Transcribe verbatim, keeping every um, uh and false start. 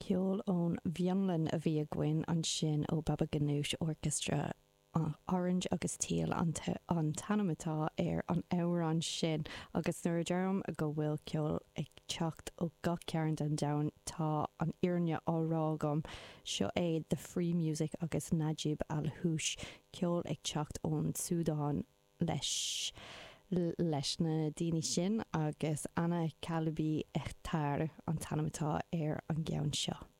Ceol ón bhFionlainn a bhí againn ansin ó Baba Ganoush Orchestra Orange agus Teal an t-ainm atá ar an amhrán sin agus nuair a deirim go bhfuil ceol ag teacht ó gach cearn den domhan tá an fhírinne á rá agam seo é the free music agus Najib Alhoush ceol ag teacht ón Súdáin leis leis na daoine sin agus أنا قلبي احتار an t-ainm atá ar an gceann seo.